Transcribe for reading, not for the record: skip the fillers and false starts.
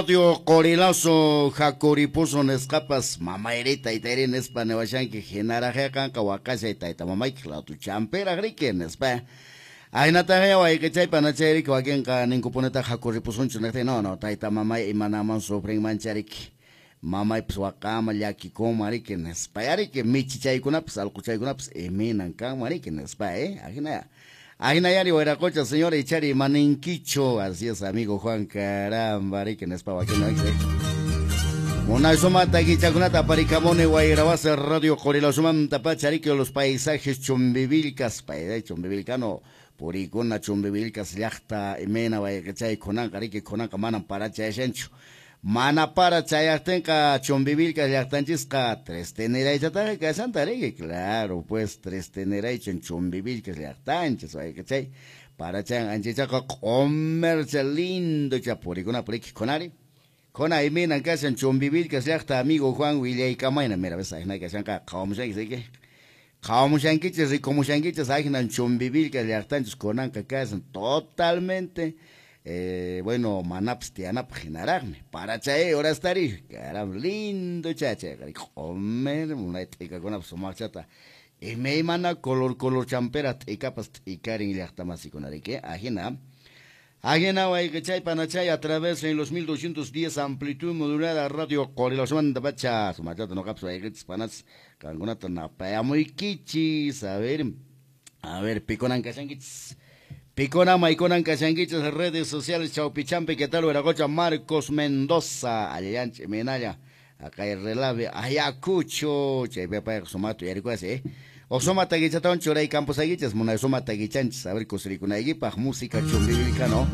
Radio Qorilazo Jacuripuso nisqapas mamayri taytayri nispa niwashanki hinaraqqa qanqa waqashay tayta mamayki latuchanpiraq riki nispa. Ahinataqa wayqichay panachayriki wakinqa ninkupunitaq hakuripusunchu niqtin no no tayta mamay imanaman sufrinmancha riki. Mamaypas waqama llakikunman riki nispa yariki michichaykunapas allquchaykunapas imaynan kanman riki nispa ahina. Ahinayari wayraqucha señora ichari imaninkichu. Así es, amigo Juan, caramba riki nispa wakin. Munay sumata kichakunata aparikamuni wayrawasi Radio Qorilazomanta pacha riki los paisajes Chumbivilcas, paisajes chumbivilcano purikuna Chumbivilcas llaqta imayna wayqichay kunanqa riki kunanqa manam parachayashanchu. Mana para chayaqtinqa Chumbivilcas llaqtanchisqa tristeniraychataqa kashanta riki, claro, pues tristeniraychan Chumbivilcas llaqtanchis wayqichay parachan anchachaqa q'umercha lindocha purikuna puriki kunari. Kuna imaynan kashan Chumbivilcas llaqta amigo Juan willaykamayna mira ves ahina kashanqa qhawamushanki riki. Qhawamushankichis rikumushankichis ahinan Chumbivilcas llaqtanchis kunanqa kashan totalmente bueno, manapas tiyanapaq hinaraqmi. Para chay horastari, caramba, lindo chachayqa q'umer munay t'ikakunapas sumaqchata imaymana color color champera t'ikapas t'ikarin llaqtamasikuna riki ahina. Ahina wayqichay panachay a través de los 1210 amplitud modulada Radio Qorilazomanta pacha sumachata noqapas wayqichis panachis qankunata napayamuykichis. A ver pikunan kashankichis. Picona, Maiconan, Kashanguichas, redes sociales, Chaupichampi, ¿qué tal? Veracocha, Marcos Mendoza, Ayayanche, Menaya, acá el relave, Ayacucho, Chaypepa, Sumato, Yaricuase, Osoma Taguichatón, Choray Campos Aguichas, Muna Soma Taguichanchis, a ver, Cosricuna, Aguipaj, música chumbivilcano.